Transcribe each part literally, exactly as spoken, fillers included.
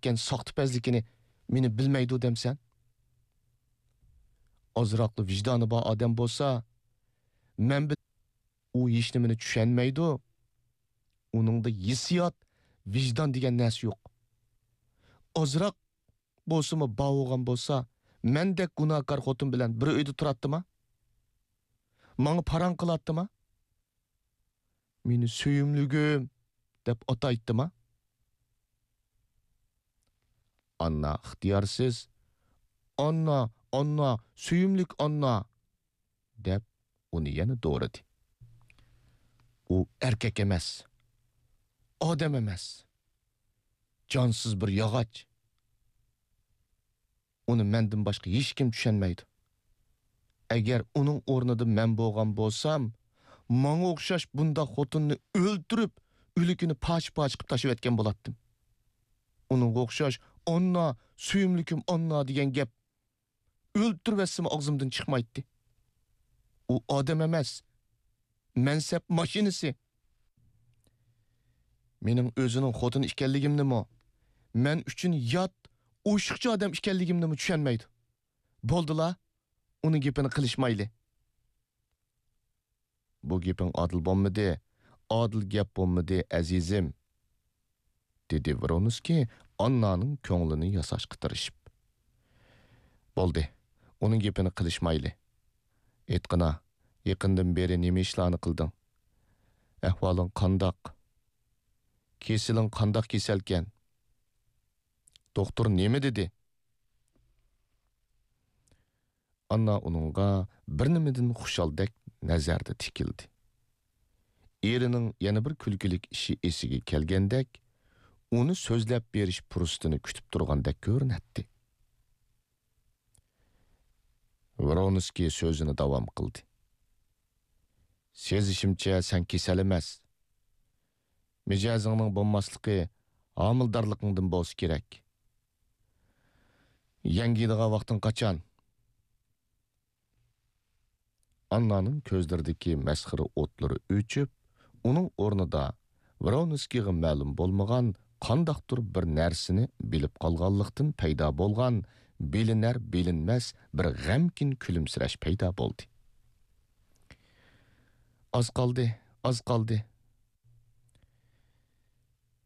ئەتكەن ساختىپەزلىكىنى مېنى بىلمەيدۇ دەمسەن؟ ئازراقلا ۋىجدانى بار ئادەم بولسا، مەن بىل-، ئۇ ھېچنېمىنى چۈشەنمەيدۇ. ئۇنىڭدا ھېسسىيات، ۋىجدان دېگەن نەرسە يوق. ئازراق بولسىمۇ بار بولغان بولسا، مەندەك گۇناھكار خوتۇن بىلەن بىر ئۆيدە تۇراتتىما؟ ماڭا پاراڭ قىلاتتىما؟ مېنى سۆيۈملۈكۈم دەپ ئاتايتتىما؟ ئاننا ئىختىيارسىز، «ئاننا، ئاننا، سۆيۈملۈك ئاننا!» دەپ ئۇنى يەنە دورىدى. ئۇ ئەركەك ئەمەس، ئادەم ئەمەس، جانسىز بىر ياغاچ. ئۇنى مەندىن باشقا ھېچكىم چۈشەنمەيدۇ. ئەگەر ئۇنىڭ ئورنىدا مەن بولغان بولسام، ماڭا ئوخشاش بۇنداق خوتۇننى ئۆلتۈرۈپ، ئۆلۈكىنى پارچە-پارچە قىلىپ تاشلىۋەتكەن بولاتتىم. ئۇنىڭغا ئوخشاش «ئاننا، سۆيۈملۈكۈم ئاننا» دېگەن گەپ ئۆلتۈرۈۋەتسىمۇ ئاغزىمدىن چىقمايتتى. ئۇ ئادەم ئەمەس، مەنسەپ ماشىنىسى. مېنىڭ ئۆزىنىڭ خوتۇنى ئىكەنلىكىمنىمۇ، مەن ئۈچۈن يات، ئوشۇقچە ئادەم ئىكەنلىكىمنىمۇ چۈشەنمەيدۇ. بولدىلا، ئۇنىڭ گېپىنى قىلىشمايلى. بۇ گېپىڭ ئادىل بولمىدى، ئادىل گەپ بولمىدى، ئەزىزىم، دېدى ۋرونسكىي ئاننانىڭ كۆڭلىنى ياساشقا تىرىشىپ. بولدى، ئۇنىڭ گېپىنى قىلىشمايلى. ئېيتقىنا، يېقىندىن بېرى نېمە ئىشلارنى قىلدىڭ؟ ئەھۋالىڭ قانداق؟ كېسىلىڭ قانداق كېسەلكەن؟ دوختۇر نېمە دېدى؟ ئاننا ئۇنىڭغا بىر نېمىدىن خۇشالدەك نەزەردە تىكىلدى. ئېرىنىڭ يەنە بىر كۈلكىلىك ئىشى ئېسىگە كەلگەندەك، ئۇنى سۆزلەپ بېرىش پۇرسىتىنى كۈتۈپ تۇرغاندەك كۆرۈنەتتى. ۋرونسكىي سۆزىنى داۋام قىلدى. سېزىشىمچە، سەن كېسەل ئەمەس. مىجەزىڭنىڭ بولماسلىقى ھامىلىدارلىقىڭدىن بولسا كېرەك. يەڭگىيدىغان ۋاقتىڭ قاچان؟ ئاننانىڭ كۆزلىرىدىكى مەسخىرە ئوتلىرى ئۆچۈپ، ئۇنىڭ ئورنىدا ۋرونسكىيغا مەلۇم بولمىغان قانداقتۇر بىر نەرسىنى بىلىپ قالغانلىقتىن پەيدا بولغان بىلىنەر-بىلىنمەس بىر غەمكىن كۈلۈمسىرەش پەيدا بولدى. ئاز قالدى، ئاز قالدى.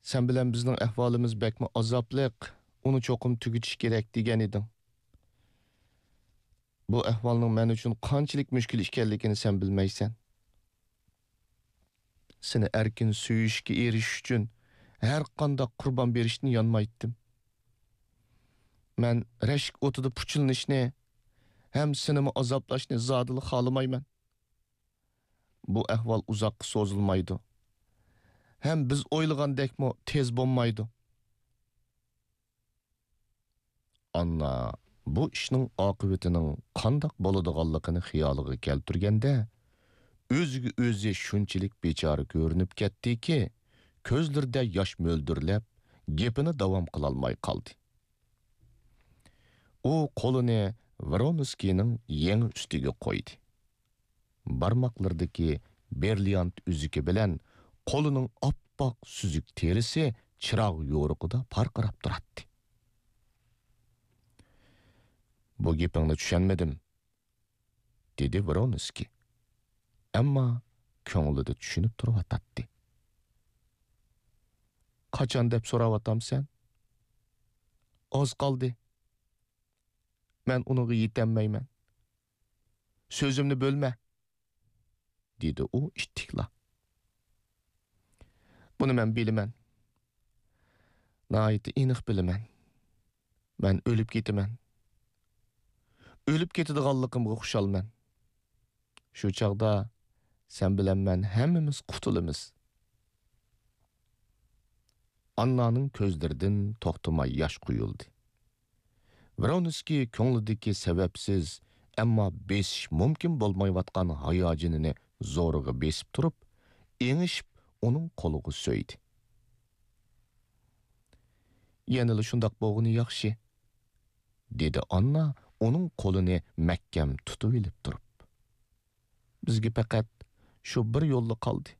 سەن بىلەن بىزنىڭ ئەھۋالىمىز بەكمۇ ئازابلىق، ئۇنى چوقۇم تۈگىتىش كېرەك دېگەن ئىدىڭ. بۇ ئەھۋالنىڭ مەن ئۈچۈن قانچىلىك مۈشكۈل ئىكەنلىكىنى سەن بىلمەيسەن. سېنى ئەركىن سۆيۈشكە ئېرىشىش ئۈچۈن ھەر قانداق قۇربان بېرىشتىن يانمايتتىم. مەن رەشك ئوتىدا پۇچىلىنىشنى ھەم سېنىمۇ ئازابلاشنى زادىلا خالىمايمەن. بۇ ئەھۋال ئۇزاققا سوزۇلمايدۇ. ھەم بىز ئويلىغاندەكمۇ تېز بولمايدۇ. ئاننا بۇ ئىشنىڭ ئاقىۋىتىنىڭ قانداق بولىدىغانلىقىنى خىيالىغا كەلتۈرگەندە، ئۆزىگە ئۆزى شۇنچىلىك بىچارە كۆرۈنۈپ كەتتىكى، كۆزلىرىدە ياش مۆلدۈرلەپ، گېپىنى داۋام قىلالماي قالدى. ئۇ قولىنى ۋرونسكىينىڭ يېڭى ئۈستىگە قويدى. بارماقلىرىدىكى برىليانت ئۈزۈكى بىلەن قولىنىڭ ئاپئاق سۈزۈك تېرىسى چىراغ يورۇقىدا پارقىراپ تۇراتتى. بۇ گېپىڭنى چۈشەنمىدىم، دېدى ۋرونسكىي. ئەمما كۆڭلىدە چۈشىنىپ تۇرۇۋاتاتتى. قاچان دەپ سوراۋاتامسەن؟ ئاز قالدى. مەن ئۇنىڭغا يېتەلمەيمەن. سۆزۈمنى بۆلمە، دېدى ئۇ ئىتتىكلا. بۇنى مەن بىلىمەن. ناھايىتى ئېنىق بىلىمەن. مەن ئۆلۈپ كېتىمەن. ئۆلۈپ كېتىدىغانلىقىمغا خۇشالمەن. شۇ چاغدا سەن بىلەن مەن ھەممىمىز قۇتۇلىمىز. ئاننانىڭ كۆزلىرىدىن توختىماي ياش قۇيۇلدى. ۋرونسكىي كۆڭلىدىكى سەۋەبسىز، ئەمما بېسىش مۇمكىن بولمايۋاتقان ھاياجىنىنى زورىغا بېسىپ تۇرۇپ، ئېڭىشىپ ئۇنىڭ قولىغا سۆيدى. يەنىلا شۇنداق بولغىنى ياخشى، دېدى ئاننا ئۇنىڭ قولىنى مەھكەم تۇتۇۋېلىپ تۇرۇپ. بىزگە پەقەت شۇ بىر يوللا قالدى.